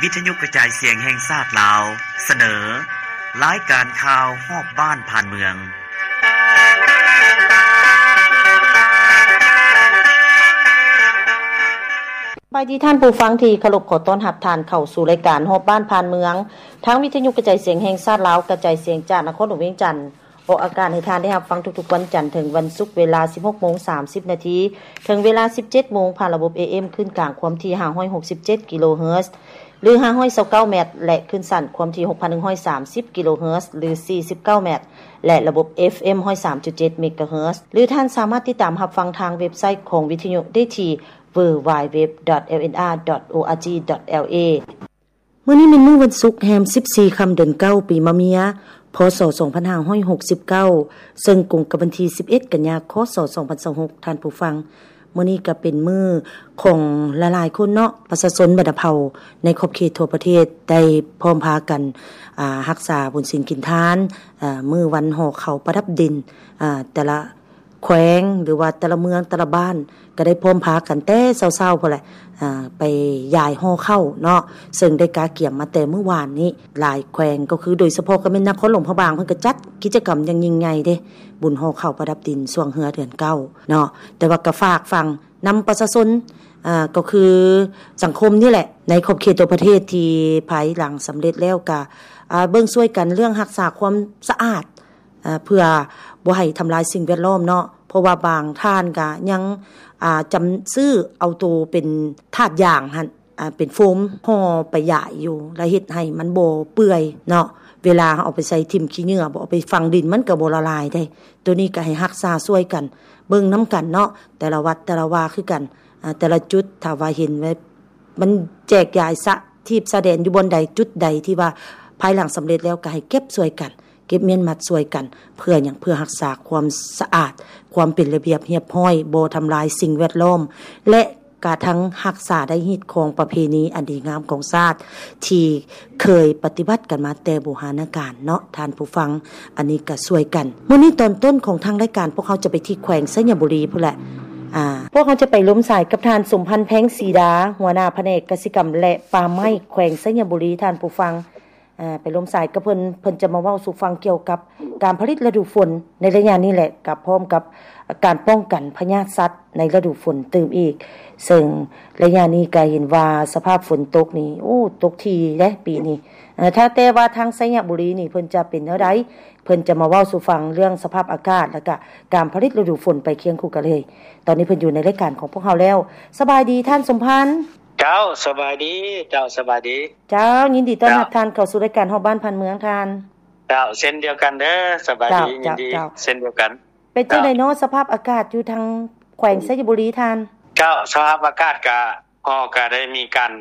ວິທະຍຸກະຈາຍສຽງແຫ່ງຊາດລາວ ສະເໜີ ລາຍການຂ່າວຮອບບ້ານຜ່ານເມືອງ. ສະບາຍດີທ່ານຜູ້ຟັງທີ່ເຄົາລົບ, ຂໍຕ້ອນຮັບທ່ານເຂົ້າສູ່ລາຍການຮອບບ້ານຜ່ານເມືອງ ທາງວິທະຍຸກະຈາຍສຽງແຫ່ງຊາດລາວ ກະຈາຍສຽງຈາກນະຄອນຫຼວງວຽງຈັນ. ອອກອາກາດໃຫ້ທ່ານໄດ້ຮັບຟັງທຸກໆວັນຈັນເຖິງວັນສຸກ ເວລາສິບຫົກໂມງສາມສິບນາທີ ເຖິງເວລາສິບເຈັດໂມງ ຜ່ານລະບົບ ເອເອັມ ຄື້ນກາງຄວາມຖີ່ຫ້າຮ້ອຍຫົກສິບເຈັດກິໂລເຮີດ ຫຼື ຫ້າຮ້ອຍຊາວເກົ້າແມັດ ແລະ ຄື້ນສັ້ນຄວາມຖີ່ຫົກພັນໜຶ່ງຮ້ອຍສາມສິບກິໂລເຮີດ ຫຼື ສີ່ສິບເກົ້າແມັດ ແລະ ລະບົບ ເອັຟເອັມ ຮ້ອຍສາມຈຸດເຈັດເມກາເຮີດ ຫຼື ທ່ານສາມາດຕິດຕາມຮັບຟັງທາງເວັບໄຊຂອງວິທະຍຸໄດ້ທີ່ ดัບເບິນຢູດັບເບິນຢູດັບເບິນຢູດັບເບິນຢູ ດອດ ເອລເອັນອາ ດອດ ໂອອາຈີ ດອດ ແອລເອ. ມື້ນີ້ແມ່ນມື້ວັນສຸກ ແຮມສິບສີ່ຄ່ຳ ເດືອນເກົ້າ ປີມະເມຍ ພ.ສ. ສອງພັນຫ້າຮ້ອຍຫົກສິບເກົ້າ ເຊິ່ງກົງກັບວັນທີສິບເອັດ ກັນຍາ ຄ.ສ. ສອງພັນຊາວຫົກ ທ່ານຜູ້ຟັງ. ມື້ນີ້ກໍເປັນມື້ຂອງຫຼາຍໆຄົນເນາະ, ປະຊາຊົນບັນດາເຜົ່າໃນຂອບເຂດທົ່ວປະເທດ ໄດ້ພ້ອມພາກັນ ອາ ຮັກສາບຸນສິນກິນທານ ອາ ມື້ວັນຫໍ່ເຂົ້າປະດັບດິນ ອາ ແຕ່ລະ ແຂວງ ຫຼືວ່າແຕ່ລະເມືອງແຕ່ລະບ້ານ ກໍໄດ້ພ້ອມພາກັນແຕ່ເຊົ້າໆພຸ້ນແຫຼະ ອາ ໄປຢາຍຫໍ່ເຂົ້າເນາະ ເຊິ່ງໄດ້ກະກຽມມາແຕ່ມື້ວານນີ້. ຫຼາຍແຂວງກໍຄື ໂດຍສະເພາະກໍແມ່ນນະຄອນຫຼວງພະບາງ ເພິ່ນກໍຈັດກິດຈະກຳຢ່າງຍິ່ງໃຫຍ່ເດ້ ບຸນຫໍ່ເຂົ້າປະດັບດິນຊ່ວງເຮືອເດືອນເກົ້າເນາະ. ແຕ່ວ່າກໍຝາກຝັງນຳປະຊາຊົນ ອາ ກໍຄືສັງຄົມນີ້ແຫຼະ ໃນຂອບເຂດທົ່ວປະເທດ ທີ່ພາຍຫຼັງສຳເລັດແລ້ວກໍ ອາ ເບິ່ງຊ່ວຍກັນເລື່ອງຮັກສາຄວາມສະອາດ ເພື່ອບໍ່ໃຫ້ທຳລາຍສິ່ງແວດລ້ອມເນາະ ເພາະວ່າບາງທ່ານກະຍັງ ອາ ຈຳ ຊື້ເອົາໂຕເປັນຖາດຢາງຫັ້ນ ອາ ເປັນໂຟມຫໍ່ໄປຢາຍຢູ່ ແລ້ວເຮັດໃຫ້ມັນບໍ່ເປື່ອຍເນາະ. ເວລາເຮົາເອົາໄປໃສ່ຖິ້ມຂີ້ເຫຍື້ອບໍ ເອົາໄປຝັງດິນ ມັນກໍບໍ່ລະລາຍເດ້. ໂຕນີ້ກໍໃຫ້ຮັກສາຊ່ວຍກັນ ເບິ່ງນຳກັນເນາະ ແຕ່ລະວັດແຕ່ລະວາຄືກັນ ອາ ແຕ່ລະຈຸດ ຖ້າວ່າເຫັນວ່າ ມັນແຈກຢາຍສະຖີບສະແດນຢູ່ບ່ອນໃດຈຸດໃດ ທີ່ວ່າພາຍຫຼັງສຳເລັດແລ້ວ ກໍໃຫ້ເກັບຊ່ວຍກັນ ເກັບມ້ຽນມັດຊ່ວຍກັນ. ເພື່ອຫຍັງ? ເພື່ອຮັກສາຄວາມສະອາດ ຄວາມເປັນລະບຽບຮຽບຮ້ອຍ ບໍ່ທຳລາຍສິ່ງແວດລ້ອມ ແລະ ກະທັງຮັກສາໄດ້ຮີດຄອງປະເພນີອັນດີງາມຂອງຊາດ ທີ່ເຄີຍປະຕິບັດກັນມາແຕ່ບູຮານະການເນາະ ທ່ານຜູ້ຟັງ. ອັນນີ້ກໍຊ່ວຍກັນ. ມື້ນີ້ຕອນຕົ້ນຂອງທາງລາຍການ ພວກເຮົາຈະໄປທີ່ແຂວງໄຊຍະບູລີພຸ້ນແຫຼະ. ອາ ພວກເຮົາຈະໄປລົມສາຍກັບທ່ານ ສົມພັນ ແພງສີດາ ຫົວໜ້າພະແນກກະສິກຳ ແລະ ປ່າໄມ້ ແຂວງໄຊຍະບູລີ ທ່ານຜູ້ຟັງ. ອາ ໄປລົມສາຍກັບເພິ່ນ ເພິ່ນຈະມາເວົ້າສູ່ຟັງກ່ຽວກັບການຜະລິດລະດູຝົນໃນໄລຍະນີ້ແຫຼະ ກັບ ພ້ອມກັບການປ້ອງກັນພະຍາດສັດໃນລະດູຝົນຕື່ມອີກ. ເຊິ່ງໄລຍະນີ້ກໍເຫັນວ່າສະພາບຝົນຕົກນີ້ ໂອ້ ຕົກຖີ່ເດ້ປີນີ້. ເອີ ຖ້າແຕ່ວ່າທາງໄຊຍະບູລີນີ້ ເພິ່ນຈະເປັນແນວໃດ? ເພິ່ນຈະມາເວົ້າສູ່ຟັງເລື່ອງສະພາບອາກາດ ແລະກະການຜະລິດລະດູຝົນໄປຄຽງຄູ່ກັນເລີຍ. ຕອນນີ້ເພິ່ນຢູ່ໃນລາຍການຂອງພວກເຮົາແລ້ວ. ສະບາຍດີທ່ານສົມພັນ. ເຈົ້າ ສະບາຍດີ. ເຈົ້າ ສະບາຍດີ. ເຈົ້າ ຍິນດີຕ້ອນຮັບ ເຈົ້າ ທ່ານເຂົ້າສູ່ລາຍການຮອບບ້ານຜ່ານເມືອງທ່ານ. ເຈົ້າ ເຊັ່ນດຽວກັນເດີ. ສະບາຍດີ. ເຈົ້າ ຍິນດີ. ເຈົ້າ ເຊັ່ນດຽວກັນ. ເປັນຈັ່ງໃດເນາະ ເຈົ້າ ສະພາບອາກາດຢູ່ທາງແຂວງໄຊຍະບູລີທ່ານ? ເຈົ້າ ສະພາບອາກາດກະ ເຮົາກະໄດ້ມີການ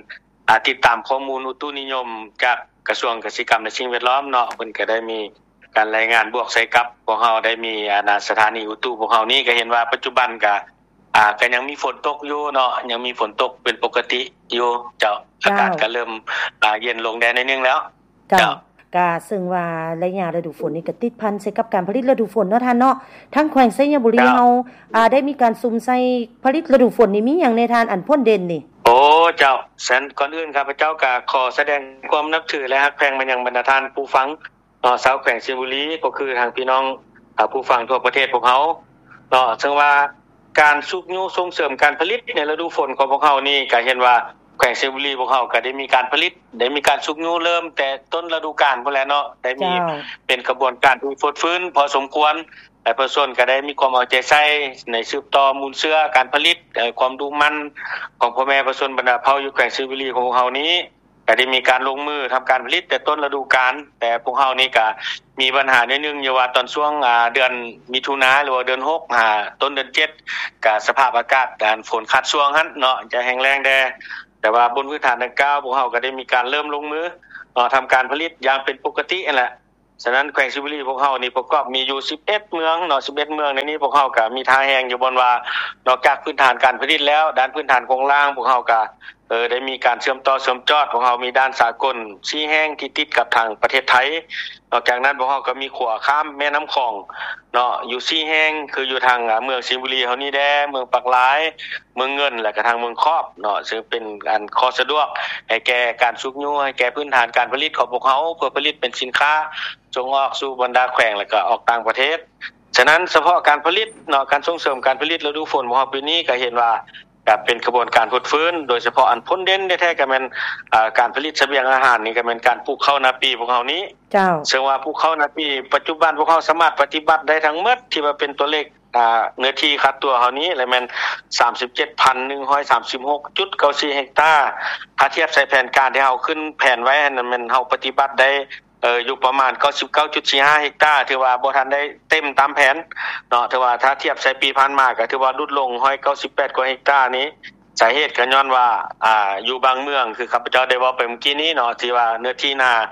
ອາ ຕິດຕາມຂໍ້ມູນອຸຕຸນິຍົມຈາກກະຊວງກະສິກຳ ແລະ ສິ່ງແວດລ້ອມເນາະ ເພິ່ນກະໄດ້ມີການລາຍງານບວກໃສ່ກັບພວກເຮົາ ໄດ້ມີ ອາ ສະຖານີອຸຕຸພວກເຮົານີ້ ກະເຫັນວ່າປັດຈຸບັນກະ ອາ ກະຍັງມີຝົນຕົກຢູ່ເນາະ ຍັງມີຝົນຕົກເປັນປົກກະຕິຢູ່. ເຈົ້າ ເຈົ້າ ອາກາດກະເລີ່ມ ອາ ເຢັນລົງແດ່ໜ້ອຍໜຶ່ງແລ້ວ. ເຈົ້າ ເຈົ້າ ກະເຊິ່ງວ່າໄລຍະລະດູຝົນນີ້ກະຕິດພັນໃສ່ກັບການຜະລິດລະດູຝົນເນາະທ່ານເນາະ. ທາງແຂວງໄຊຍະບູລີ ເຈົ້າ ເຮົາ ອາ ໄດ້ມີການສຸມໃສ່ຜະລິດລະດູຝົນນີ້ມີຫຍັງແດ່ທ່ານ ອັນພົ້ນເດັ່ນນີ້? ໂອ້ ເຈົ້າ ຊັ້ນກ່ອນອື່ນຂ້າພະເຈົ້າກະຂໍສະແດງຄວາມນັບຖື ແລະ ຮັກແພງມາຍັງບັນດາທ່ານຜູ້ຟັງເນາະ ຊາວແຂວງໄຊຍະບູລີ ກໍຄືທາງພີ່ນ້ອງ ອາ ຜູ້ຟັງທົ່ວປະເທດພວກເຮົາເນາະ. ເຊິ່ງວ່າ ການຊຸກຍູ້ສົ່ງເສີມການຜະລິດໃນລະດູຝົນຂອງພວກເຮົານີ້ ກະເຫັນວ່າແຂວງໄຊຍະບູລີພວກເຮົາກະໄດ້ມີການຜະລິດ ໄດ້ມີການຊຸກຍູ້ເລີ່ມແຕ່ຕົ້ນລະດູການພຸ້ນແຫຼະເນາະ ໄດ້ມີ ເຈົ້າ ເປັນຂະບວນການທີ່ຟົດຟື້ນພໍສົມຄວນ ແລະ ປະຊາຊົນກະໄດ້ມີຄວາມເອົາໃຈໃສ່ໃນສືບຕໍ່ມູນເຊື້ອການຜະລິດ ຄວາມດຸໝັ່ນຂອງພໍ່ແມ່ປະຊາຊົນບັນດາເຜົ່າຢູ່ແຂວງໄຊຍະບູລີຂອງພວກເຮົານີ້ ກະໄດ້ມີການລົງມືທຳການຜະລິດແຕ່ຕົ້ນລະດູການ. ແຕ່ພວກເຮົານີ້ກະມີບັນຫາໜ້ອຍໜຶ່ງ ຢູ່ວ່າຕອນຊ່ວງ ອາ ເດືອນມິຖຸນາ ຫຼືວ່າເດືອນຫົກ ຫາຕົ້ນເດືອນເຈັດ ກະສະພາບອາກາດ ອັນ ຝົນຂາດຊ່ວງຫັ້ນເນາະ ຈະແຫ້ງແລ້ງແດ່. ແຕ່ວ່າບົນພື້ນຖານດັ່ງກ່າວ ພວກເຮົາກະໄດ້ມີການເລີ່ມລົງມືເນາະ ທຳການຜະລິດຢ່າງເປັນປົກກະຕິຫັ້ນແຫຼະ. ສະນັ້ນແຂວງໄຊຍະບູລີພວກເຮົານີ້ປະກອບມີຢູ່ສິບເອັດເມືອງເນາະ ສິບເອັດເມືອງໃນນີ້ ພວກເຮົາກະມີທ່າແຮງຢູ່ບ່ອນວ່າ ນອກຈາກພື້ນຖານການຜະລິດແລ້ວ ດ້ານພື້ນຖານໂຄງລ່າງ ພວກເຮົາກະ ເອີ ໄດ້ມີການເຊື່ອມຕໍ່ເຊື່ອມຈອດ. ພວກເຮົາມີດ່ານສາກົນສີ່ແຫ່ງທີ່ຕິດກັບທາງປະເທດໄທ. ນອກຈາກນັ້ນ ພວກເຮົາກໍມີຂົວຂ້າມແມ່ນ້ຳຂອງເນາະ ຢູ່ສີ່ແຫ່ງ ຄືຢູ່ທາງ ອາ ເມືອງໄຊຍະບູລີເຮົານີ້ແດ່, ເມືອງປາກລາຍ, ເມືອງເງິນ ແລະກະທາງເມືອງຂອບເນາະ ເຊິ່ງເປັນອັນຂໍ້ສະດວກໃຫ້ແກ່ການຊຸກຍູ້ ໃຫ້ແກ່ພື້ນຖານການຜະລິດຂອງພວກເຮົາ ເພື່ອຜະລິດເປັນສິນຄ້າສົ່ງອອກສູ່ບັນດາແຂວງ ແລະກະອອກຕ່າງປະເທດ. ສະນັ້ນ ສະເພາະການຜະລິດເນາະ ການສົ່ງເສີມການຜະລິດລະດູຝົນຂອງເຮົາປີນີ້ ກະເຫັນວ່າ ກະເປັນຂະບວນການຟົດຟື້ນ ໂດຍສະເພາະອັນພົ້ນເດັ່ນແທ້ໆ ກະແມ່ນ ອາ ການຜະລິດສະບຽງອາຫານນີ້ ກະແມ່ນການປູກເຂົ້ານາປີຂອງເຮົານີ້. ເຈົ້າ. ເຊິ່ງວ່າປູກເຂົ້ານາປີ ປັດຈຸບັນພວກເຮົາສາມາດປະຕິບັດໄດ້ທັງໝົດ ທີ່ວ່າເປັນຕົວເລກ ອາ ເນື້ອທີ່ຄາດຕົວເຮົານີ້ ລະແມ່ນສາມສິບເຈັດພັນໜຶ່ງຮ້ອຍສາມສິບຫົກຈຸດເກົ້າສີ່ເຮັກຕາ. ຖ້າທຽບໃສ່ແຜນການທີ່ເຮົາຂຶ້ນແຜນໄວ້ຫັ້ນ ແມ່ນເຮົາປະຕິບັດໄດ້ ເອີ ຢູ່ປະມານເກົ້າສິບເກົ້າຈຸດສີ່ຫ້າເຮັກຕາ ຖືວ່າບໍ່ທັນໄດ້ເຕັມຕາມແຜນເນາະ. ຖືວ່າຖ້າທຽບໃສ່ປີຜ່ານມາ ກະຖືວ່າຫຼຸດລົງຮ້ອຍເກົ້າສິບແປດກວ່າເຮັກຕານີ້. ສາເຫດກະຍ້ອນວ່າ ອາ ຢູ່ບາງເມືອງ ຄືຂ້າພະເຈົ້າໄດ້ເວົ້າໄປເມື່ອກີ້ນີ້ເນາະ ທີ່ວ່າເນື້ອທີ່ນາ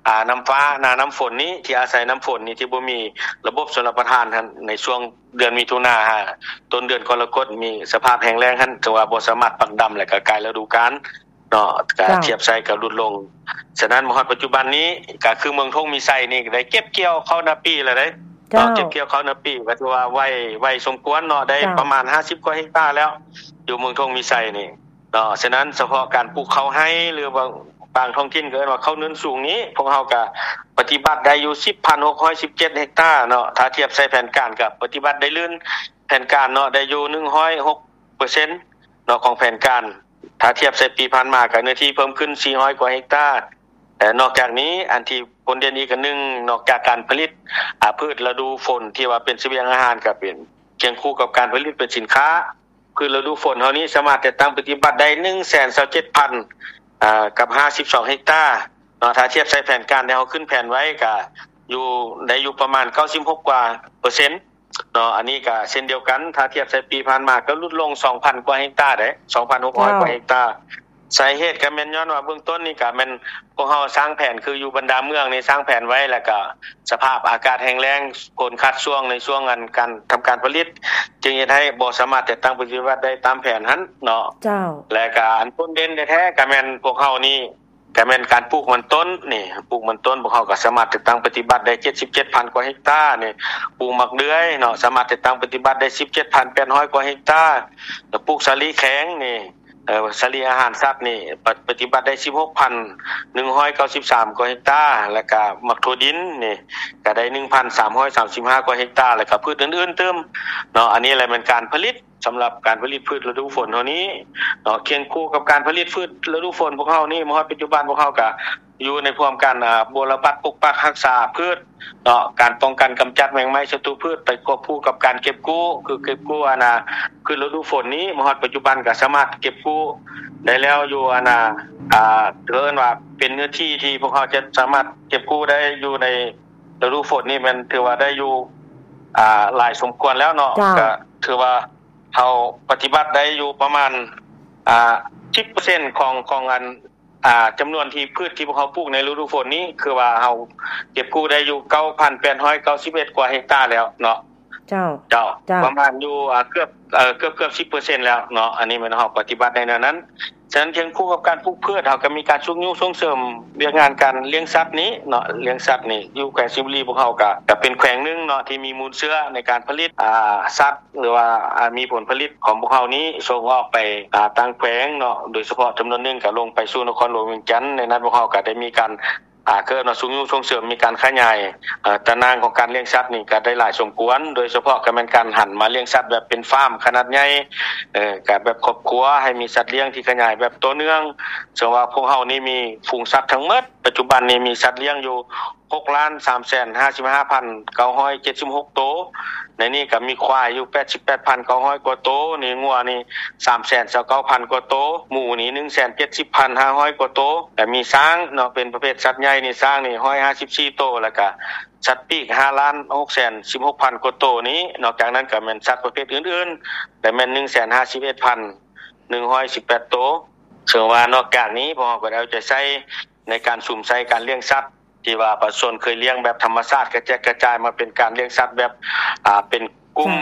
ອາ ນ້ຳຟ້າ ນານ້ຳຝົນນີ້ ທີ່ອາໄສນ້ຳຝົນນີ້ ທີ່ບໍ່ມີລະບົບຊົນລະປະທານຫັ້ນ ໃນຊ່ວງເດືອນມິຖຸນາຫາຕົ້ນເດືອນກໍລະກົດ ມີສະພາບແຫ້ງແລ້ງຫັ້ນ ຖືວ່າບໍ່ສາມາດປັກດຳ ແລະກະກາຍລະດູການ ເນາະ ກະ ເຈົ້າ ທຽບໃສ່ກະຫຼຸດລົງ. ສະນັ້ນ ມາຮອດປັດຈຸບັນນີ້ ກະຄືເມືອງທົ່ງມີໄຊນີ້ ກະໄດ້ເກັບກ່ຽວເຂົ້ານາປີແລ້ວເດ້ ເຈົ້າ ເນາະ ເກັບກ່ຽວເຂົ້ານາປີ ກະຖືວ່າໄວ ໄວສົມຄວນເນາະ ໄດ້ ເຈົ້າ ປະມານຫ້າສິບກວ່າເຮັກຕາແລ້ວ ຢູ່ເມືອງທົ່ງມີໄຊນີ້ເນາະ. ສະນັ້ນ ສະເພາະການປູກເຂົ້າໄຮ່ ຫຼືວ່າບາງທ້ອງຖິ່ນກະເອີ້ນວ່າເຂົ້າເນີນສູງນີ້ ພວກເຮົາກະປະຕິບັດໄດ້ຢູ່ສິບພັນຫົກຮ້ອຍສິບເຈັດເຮັກຕາເນາະ. ຖ້າທຽບໃສ່ແຜນການ ກະປະຕິບັດໄດ້ລື່ນແຜນການເນາະ ໄດ້ຢູ່ໜຶ່ງຮ້ອຍຫົກເປີເຊັນເນາະ ຂອງແຜນການ. ຖ້າທຽບໃສ່ປີຜ່ານມາ ກະເນື້ອທີ່ເພີ່ມຂຶ້ນສີ່ຮ້ອຍກວ່າເຮັກຕາ. ແລະນອກຈາກນີ້ ອັນທີ່ພົ້ນເດັ່ນອີກອັນໜຶ່ງ ນອກຈາກການຜະລິດ ອາ ພືດລະດູຝົນ ທີ່ວ່າເປັນສະບຽງອາຫານ ກະເປັນຄຽງຄູ່ກັບການຜະລິດເປັນສິນຄ້າ. ພືດລະດູຝົນເຮົານີ້ ສາມາດຈັດຕັ້ງປະຕິບັດໄດ້ໜຶ່ງແສນຊາວເຈັດພັນ ອາ ກັບຫ້າສິບສອງເຮັກຕາເນາະ. ຖ້າທຽບໃສ່ແຜນການທີ່ເຮົາຂຶ້ນແຜນໄວ້ ກະຢູ່ ໄດ້ຢູ່ປະມານເກົ້າສິບຫົກກວ່າເປີເຊັນ ເນາະ. ອັນນີ້ກະເຊັ່ນດຽວກັນ ຖ້າທຽບໃສ່ປີຜ່ານມາ ກະຫຼຸດລົງສອງພັນກວ່າເຮັກຕາເດ້ ສອງພັນຫົກຮ້ອຍກວ່າເຮັກຕາ. ເຈົ້າ. ສາເຫດກະແມ່ນຍ້ອນວ່າເບື້ອງຕົ້ນນີ້ ກະແມ່ນພວກເຮົາສ້າງແຜນ ຄືຢູ່ບັນດາເມືອງນີ້ ສ້າງແຜນໄວ້ ແລະກະສະພາບອາກາດແຫ້ງແລ້ງ ຝົນຂາດຊ່ວງໃນຊ່ວງອັນການທຳການຜະລິດ ຈຶ່ງເຮັດໃຫ້ບໍ່ສາມາດຈັດຕັ້ງປະຕິບັດໄດ້ຕາມແຜນຫັ້ນເນາະ. ເຈົ້າ. ແລະກະອັນພົ້ນເດັ່ນແທ້ໆ ກະແມ່ນພວກເຮົານີ້ ກະແມ່ນການປູກມັນຕົ້ນນີ້ ປູກມັນຕົ້ນ ພວກເຮົາກະສາມາດຈັດຕັ້ງປະຕິບັດໄດ້ເຈັດສິບເຈັດພັນກວ່າເຮັກຕານີ້. ປູກໝາກເດືອຍເນາະ ສາມາດຈັດຕັ້ງປະຕິບັດໄດ້ສິບເຈັດພັນແປດຮ້ອຍກວ່າເຮັກຕາ. ແລະປູກສາລີແຂງນີ້ ເອີ ສາລີອາຫານສັດນີ້ ປະ ປະຕິບັດໄດ້ສິບຫົກພັນໜຶ່ງຮ້ອຍເກົ້າສິບສາມກວ່າເຮັກຕາ. ແລະກະໝາກຖົ່ວດິນນີ້ ກະໄດ້ໜຶ່ງພັນສາມຮ້ອຍສາມສິບຫ້າກວ່າເຮັກຕາ ແລະກະພືດອື່ນໆຕື່ມເນາະ. ອັນນີ້ແຫຼະແມ່ນການຜະລິດ ສຳລັບການຜະລິດພືດລະດູຝົນເຮົານີ້ເນາະ. ຄຽງຄູ່ກັບການຜະລິດພືດລະດູຝົນພວກເຮົານີ້ ມາຮອດປັດຈຸບັນພວກເຮົາກະຢູ່ໃນພວມການ ອາ ບົວລະບັດປົກປັກຮັກສາພືດເນາະ ການປ້ອງກັນກຳຈັດແມງໄມ້ສັດຕູພືດ ໄປຄວບຄູ່ກັບການເກັບກູ້ ຄືເກັບກູ້ອັນນາ ຄືລະດູຝົນນີ້ ມາຮອດປັດຈຸບັນກະສາມາດເກັບກູ້ໄດ້ແລ້ວຢູ່ອັນນາ ອາ ເອີ້ນວ່າເປັນເນື້ອທີ່ທີ່ພວກເຮົາຈະສາມາດເກັບກູ້ໄດ້ຢູ່ໃນລະດູຝົນນີ້ ແມ່ນຖືວ່າໄດ້ຢູ່ ອາ ຫຼາຍສົມຄວນແລ້ວເນາະ. ເຈົ້າ. ກະຖືວ່າ ເຮົາປະຕິບັດໄດ້ຢູ່ປະມານ ອາ ສິບເປີເຊັນຂອງ ຂອງອັນ ອາ ຈຳນວນທີ່ພືດທີ່ພວກເຮົາປູກໃນລະດູຝົນນີ້ ຄືວ່າເຮົາເກັບກູ້ໄດ້ຢູ່ເກົ້າພັນແປດຮ້ອຍເກົ້າສິບເອັດກວ່າເຮັກຕາແລ້ວເນາະ. ເຈົ້າ. ເຈົ້າ. ເຈົ້າ. ປະມານຢູ່ ອາ ເກືອບ ເອີ ເກືອບ ເກືອບສິບເປີເຊັນແລ້ວເນາະ. ອັນນີ້ແມ່ນເຮົາປະຕິບັດໄດ້ແນວນັ້ນ. ສະນັ້ນ ຄຽງຄູ່ກັບການປູກພືດ ເຮົາກະມີການຊຸກຍູ້ສົ່ງເສີມວຽກງານການລ້ຽງສັດນີ້ເນາະ ລ້ຽງສັດນີ້ ຢູ່ແຂວງໄຊຍະບູລີ ພວກເຮົາກະ ກະເປັນແຂວງໜຶ່ງເນາະ ທີ່ມີມູນເຊື້ອໃນການຜະລິດ ອາ ສັດ ຫຼືວ່າ ອາ ມີຜົນຜະລິດຂອງພວກເຮົານີ້ສົ່ງອອກໄປ ອາ ຕ່າງແຂວງເນາະ ໂດຍສະເພາະຈຳນວນໜຶ່ງກະລົງໄປສູ່ນະຄອນຫຼວງວຽງຈັນ. ໃນນັ້ນພວກເຮົາກະໄດ້ມີການ ອາ ເອີ້ນວ່າຊຸກຍູ້ສົ່ງເສີມ ມີການຂະຫຍາຍ ອາ ຕາໜ່າງຂອງການລ້ຽງສັດນີ້ກະໄດ້ຫຼາຍສົມຄວນ ໂດຍສະເພາະກະແມ່ນການຫັນມາລ້ຽງສັດແບບເປັນຟາມຂະໜາດໃຫຍ່ ເອີ ກະແບບຄອບຄົວ ໃຫ້ມີສັດລ້ຽງທີ່ຂະຫຍາຍແບບຕໍ່ເນື່ອງ. ເຊິ່ງວ່າພວກເຮົານີ້ມີຝູງສັດທັງໝົດ ປັດຈຸບັນນີ້ມີສັດລ້ຽງຢູ່ ຫົກລ້ານສາມແສນຫ້າສິບຫ້າພັນເກົ້າຮ້ອຍເຈັດສິບຫົກໂຕ. ໃນນີ້ກະມີຄວາຍຢູ່ແປດສິບແປດພັນເກົ້າຮ້ອຍກວ່າໂຕ ນີ້ງົວນີ້ສາມແສນຊາວເກົ້າພັນກວ່າໂຕ ໝູນີ້ໜຶ່ງແສນເຈັດສິບພັນຫ້າຮ້ອຍກວ່າໂຕ ແລະມີຊ້າງເນາະ ເປັນປະເພດສັດໃຫຍ່ນີ້ ຊ້າງນີ້ຮ້ອຍຫ້າສິບສີ່ໂຕ ແລະກະສັດປີກຫ້າລ້ານຫົກແສນສິບຫົກພັນກວ່າໂຕນີ້. ນອກຈາກນັ້ນກະແມ່ນສັດປະເພດອື່ນໆ ແລະແມ່ນໜຶ່ງແສນຫ້າສິບເອັດພັນໜຶ່ງຮ້ອຍສິບແປດໂຕ. ເຊິ່ງວ່ານອກຈາກນີ້ ພວກເຮົາກະໄດ້ເອົາໃຈໃສ່ໃນການສຸມໃສ່ການລ້ຽງສັດ ທີ່ວ່າປະຊາຊົນເຄີຍລ້ຽງແບບທຳມະຊາດ ກະແຈກກະຈາຍມາເປັນການລ້ຽງສັດແບບ ອາ ເປັນກຸ່ມ